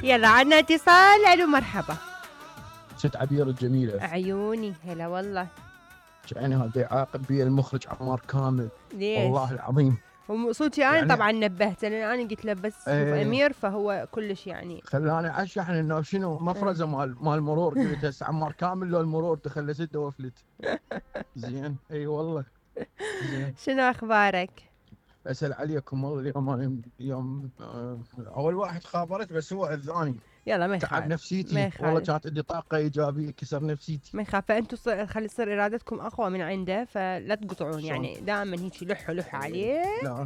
يلا عنا اتصال. الو مرحبا. ست عبير الجميلة. عيوني هلا والله. يعني هذا يعاقب بي المخرج عمار كامل. ليش؟ والله العظيم. صوتي انا يعني طبعا نبهته لان انا قلت له بس شوف امير فهو كلش يعني خلاني اشحن انه شنو مفرزه مال المرور. قلت هسه عمار كامل لو المرور دخل سده وفلت. زين اي والله. زين شنو اخبارك؟ اسال عليكم والله اليوم اول واحد خابرت بس هو اذاني. يلا ما يخالف. تعب نفسيتي والله كانت عندي طاقه ايجابيه كسر نفسيتي. ما يخاف. فانتم خلي تصير ارادتكم اقوى من عنده فلا تقطعون يعني دائما هيك لحوا عليه. لا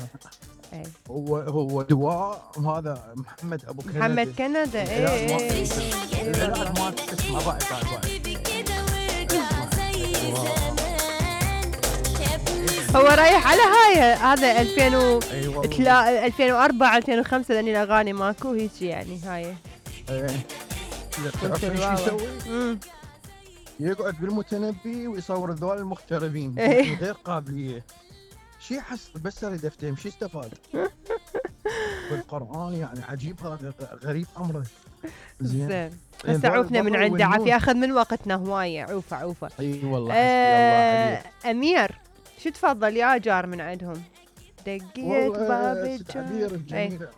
هو دواء. هذا محمد ابو كندا. محمد كندا العلاج ما تسمع بعد هو رايح على هذا 2004 2005 لان الاغاني ماكو هيك يعني هاي. تعرف ايش يسوي؟ يقعد بالمتنبي ويصور ذول المغتربين غير قابليه. شي حس بس اريد افتهم شي استفاد بالقران يعني عجيب هذا غريب امره. زين هسه عوفنا من عنده عافيه اخذ من وقتنا هوايه. عوفه اي والله الله امير شو تفضل يا جار من عندهم؟ دقيت باب الجار.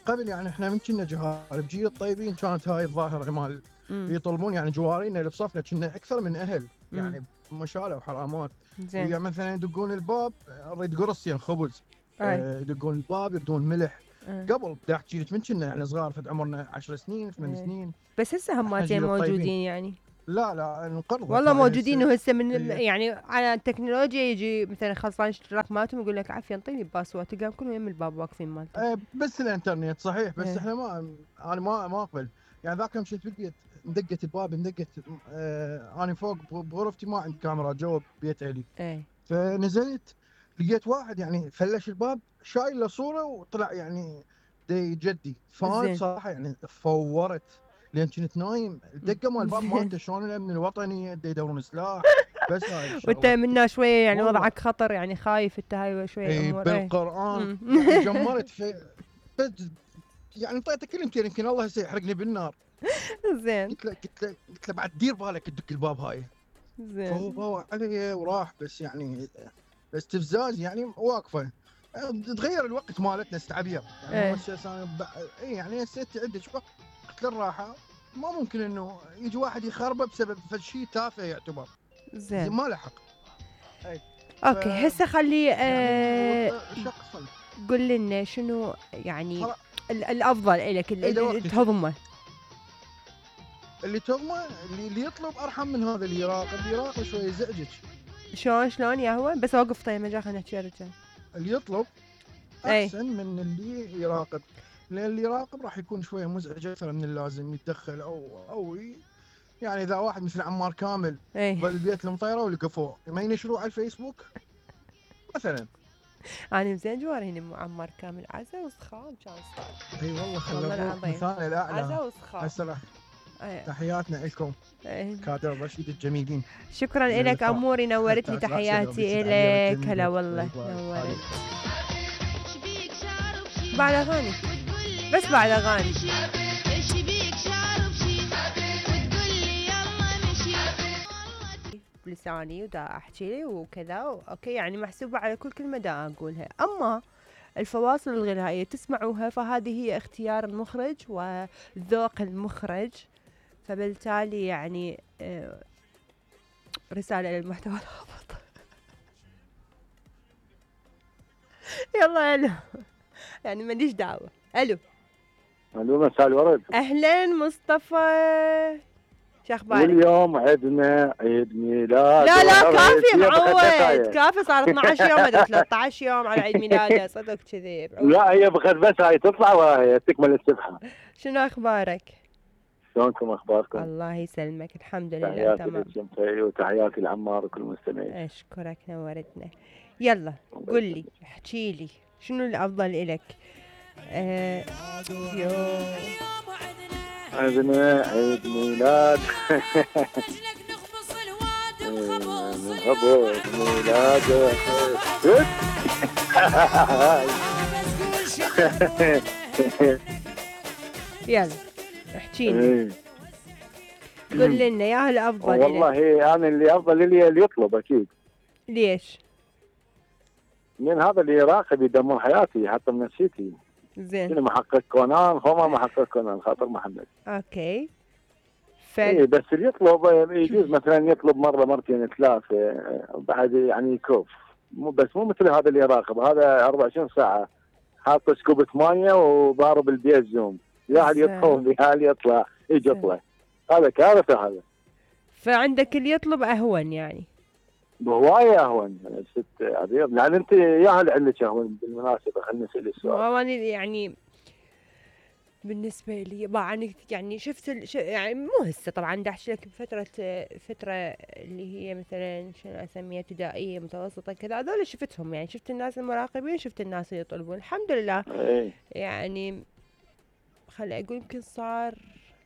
قبل يعني احنا من كنا جهال بجيل الطيبين كانت هاي الظاهره مال يطلبون يعني جوارينا اللي بصفنا كنا اكثر من اهل يعني مشالة وحرامات. يعني مثلا يدقون الباب اريد قرصين خبز. يدقون الباب يردون ملح. قبل احكي لك من كنا يعني صغار فد عمرنا 10 سنين 8 سنين. بس هسه هماتين موجودين يعني. لا انقرضوا والله موجودين وهسه من يعني على التكنولوجيا يجي مثلا خلصان اشتراك مالتهم يقول لك عافيه انطيني باسورد تلقاهم كلهم يم الباب واقفين مالته. بس الانترنت صحيح بس احنا انا ما اقبل يعني ذاك يوم شفت بالبيت مدقت الباب انا فوق بغرفتي ما عندي كاميرا جوا بيت اهلي. فنزلت لقيت واحد يعني فلش الباب شايل له صوره وطلع يعني جدي. فانا بصراحه يعني فورت لان كنت نايم. الدقه مال الباب مالته شلون الامن الوطني يدورون سلاح بس هاي وانت منا شويه يعني وضعك خطر يعني خايف انت هاي شويه امور بالقران يعني جمرت في يعني انطيته كلمتين يمكن الله سيحرقني بالنار. زين قلت له بعد دير بالك تدق الباب هاي. زين فهو علي وراح بس يعني استفزاز يعني واقفه. تغير الوقت مالتنا استعبير يعني يعني هسه عندك وقت للراحه ما ممكن انه يجي واحد يخربه بسبب شيء تافه يعتبر. زين ما لحق. اوكي هسه خلي يعني قول لنا شنو يعني الافضل لك اللي تهضمه. اللي تهضمه اللي يطلب ارحم من هذا اللي يراقب شويه يزعجك. شلون يا هو بس اوقف طيب مجال خلينا نحكي رجال. اللي يطلب احسن من اللي يراقب لان اللي يراقب راح يكون شويه مزعج اكثر من اللازم يتدخل او يعني اذا واحد مثل عمار كامل بالبيت المطيره ولقفوه ما ينشروه على الفيسبوك مثلا. انا زين جواري هنا عمار كامل عزا وسخام كان صار. اي والله خلوه مثال الاعلى عزا وسخام. هسه تحياتنا لكم كادر رشيد الجميلين. شكرا لك اموري نورتني تحياتي لك. هلا والله نورت. بعد اغاني بس بعد اغاني بلساني ودا احكي وكذا اوكي يعني محسوبه على كل كلمه دا اقولها. اما الفواصل الغنائيه تسمعوها فهذه هي اختيار المخرج وذوق المخرج فبالتالي يعني رساله للمحتوى الهابط. يلا الو يعني ماليش دعوه. الو مساء الورد. اهلا مصطفى شو اخبارك؟ واليوم عندنا عيد ميلاد. لا كافي معود كافي صار 12 يوم ادري 13 يوم على عيد ميلاده صدق كذي. لا هي بخد بس هاي تطلع وهي تكمل السبحه. شنو اخبارك؟ شلونكم اخباركم؟ الله يسلمك الحمد لله تمام. وتحياتي لعمار وكل المستمعين. اشكرك نورتنا. يلا قل لي احكي لي شنو الافضل لك؟ عندنا عيد ميلاد. نخبط ميلاد. يلا احكيلي. قول لنا يا الافضل. والله انا اللي افضل لي اللي يطلب اكيد. ليش؟ من هذا اللي يراقب يدمر حياتي حتى من نفسيتي. زين. انا محقق كونان، هما محقق كونان خاطر محمد. اوكي. ايه بس اللي يطلب يجوز مثلا يطلب مره مرتين ثلاثه بعد يعني يكف. مو مثل هذا اللي يراقب، هذا 24 ساعه حاط سكوبة مايه وضارب البيت زوم، يا هل يدخل يا هل يطلع يجي يطلع. هذا كارثه هذا. فعندك اللي يطلب اهون يعني. بهوايه اهون ست عبير، لان انت يا هل عندك اهون بالمناسبه. خليني اسال السؤال. يعني بالنسبه لي يعني شفت يعني مو هسه طبعا دا احكي لك فتره اللي هي مثلا شنو اسميها ابتدائيه متوسطه كذا، هذول شفتهم يعني، شفت الناس المراقبين، شفت الناس اللي يطلبون الحمد لله. يعني خلي اقول يمكن صار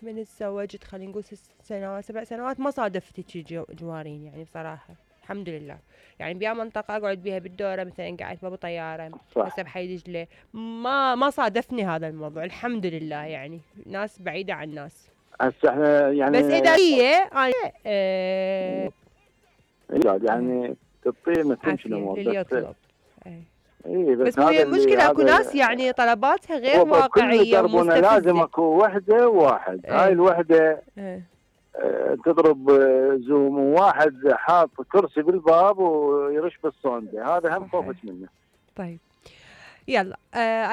من تزوجت خلينا نقول 6 سنوات 7 سنوات ما صادفت شي جوارين يعني بصراحه الحمد لله. يعني بيا منطقه اقعد بيها بالدوره مثلا قاعد بابو طياره هسه بحي دجله ما صادفني هذا الموضوع الحمد لله. يعني ناس بعيده عن ناس. هسه احنا يعني بس اذا هي يعني تطير ما تمشي الامور اللي يطلب. بس المشكلة اكو ناس يعني طلباتها غير واقعية ومستفزة. لازم اكو وحدة وواحد. هاي الوحدة تضرب زوم، وواحد حاط كرسي بالباب ويرش بالصوندة، هذا هم خوفت منه. طيب يلا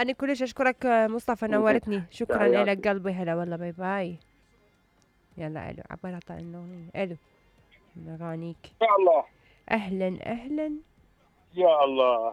انا كلش اشكرك مصطفى، نورتني. شكرا لك قلبي. هلا والله، باي باي. يلا الو عبالها طال النوم. الو اغانيك. يا الله. اهلا اهلا. يا الله.